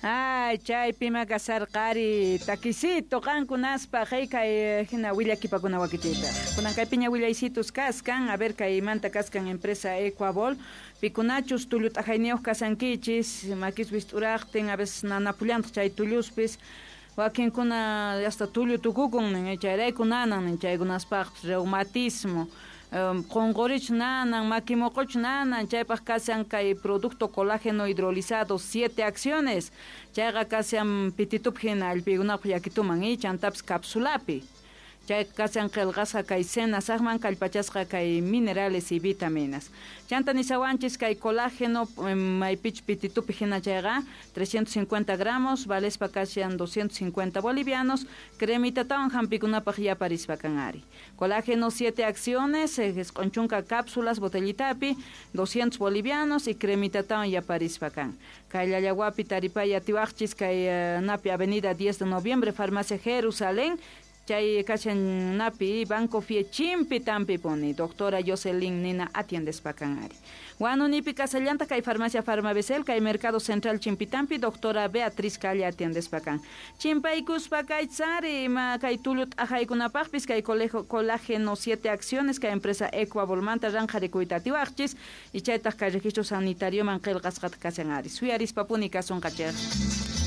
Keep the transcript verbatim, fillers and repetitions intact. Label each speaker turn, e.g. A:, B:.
A: Ay, chaypima kasarqari takisito qankunaspa kay hina willakipakuna wakichiypaq. Kunan kaypiña willaysitus kaskan, a ver kaymanta kaskan empresa Ecuabol, pikunachus tullu t'ajayniyuq kasankichis, makiswis t'uraqtin, a veces nanapullantaq chay tulluspis, wakinkuna hasta tullu tukukun nin, chayrayku nanan nin, chaykunaspaqpis reumatismo, qunqurich nanan, makimoqoch nanan, chaypaq kashan kay producto colágeno hidrolizado siete acciones, chayqa kashan pititup hina allpiykunapaq yakituman y chantapis capsulapi. Chay kashan qillqasqa kay senasaqman kallpachasqa kay minerales y vitaminas. Chanta nisawanchis kay colágeno maypich pititupi hina chayqa trescientos cincuenta gramos, valespa kashan doscientos cincuenta bolivianos, cremitatawan hampikunapaq yaparispa kan ari. Colágeno siete acciones, q'unchunka cápsulas botellitapi, doscientos bolivianos y cremitatawan yaparispa kan. Kay Llallawapi taripay atiwaqchis kay napi Avenida diez de Noviembre, Farmacia Jerusalén, chay kashan napi Banco Fiechimpi tampi poni, doctora Jocelyn Nina atiendespa kan ari. Huanunipi kasallanta kay Farmacia Farmabesel, kay Mercado Central Chimpitampi, doctora Beatriz Calle atiendespa kan. Chimpaykuspa kay tsari, ma kay tullu t'ajaykunapaqpis, kay colegio, colágeno siete acciones, kay empresa Ecuabolmanta ranqarikuyta atiwaqchis, y chaytaq kay registro sanitario man qillqasqata kashan ari. Suyarispa puni kasunqachej.